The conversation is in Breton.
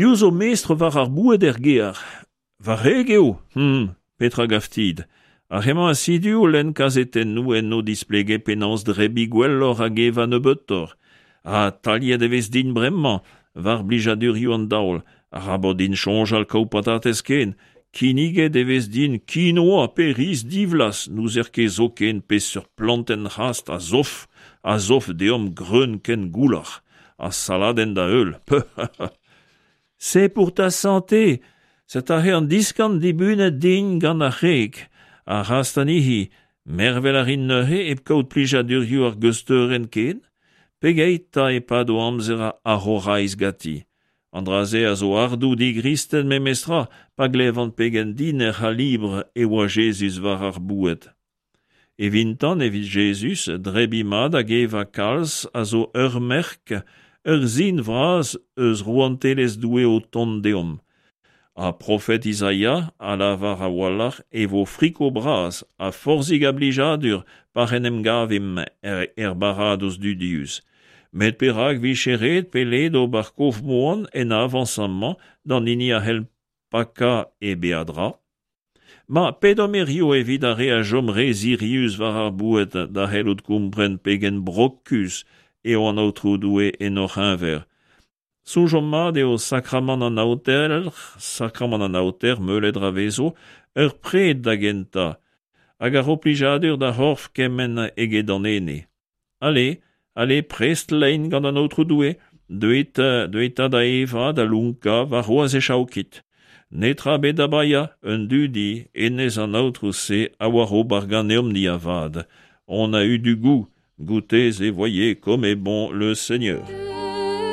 Piv zo mestr war ar boued er gêr? Va wreg eo! Hum! Petra 'gav dit? Ar re-mañ asidu o lenn kazetennoù enno displege penaos drebiñ gwelloc'h hag evañ nebeutoc'h. Ha taliet e vez din bremañ war blijadurioù an daol, arabat din soñjal kaout patatez ken, kinniget e vez din kinoa pe riz divlaz, n'ouzer ket zoken peseurt plantenn c'hast a zof a zof deomp greun ken goular. Ha saladenn da heul, peuh! C'est pour ta santé! Setu aze an diskan dibunet din gant ar c'hreg, ar c'hast anezhi. Mervel a rin neuze hep kaout plijadurioù ar geusteurenn ken? Pegeit 'ta e pado amzer ar c'horaiz ganti? An dra-se a zo ardoù digristen memestra pa glevan pegen dinec'h ha libr e oa Jezuz war ar boued. Evintan, evit Jezuz, drebiñ mat hag evañ kalz a zo ur merk, ur sin vras eus rouantelezh Doue o tont deomp. Ha profed Izaia a lavar a-walc'h e vo friko bras ha forzhik a blijadur pac'h en em gavimp er baradoz dudius. Met perak 'vije ret pe let ober kof-moan en avañs amañ d'an hini a c'hell pakañ e beadra? Ma, pedomp hiziv evit ar re a chom re sirius war ar boued da c'hellout kompren pegen brokus eo an Aotrou Doue en hor c'heñver. Soñjomp mat eo sakramant an aoter, sakramant an aoter meulet ra vezo, ur pred da gentañ, hag a ro plijadur d'ar c'horf kement eget d'an ene. Ale, ale, prest lein gant an Aotrou Doue, deuit, deuit 'ta da evañ, da lonkañ, warc'hoazh e chaokit. Netra ebet da baeañ, un dudi, hennezh an Aotrou-se a oar ober ganeomp-ni avat. On a eu du goût, goûtez et voyez comme est bon le Seigneur.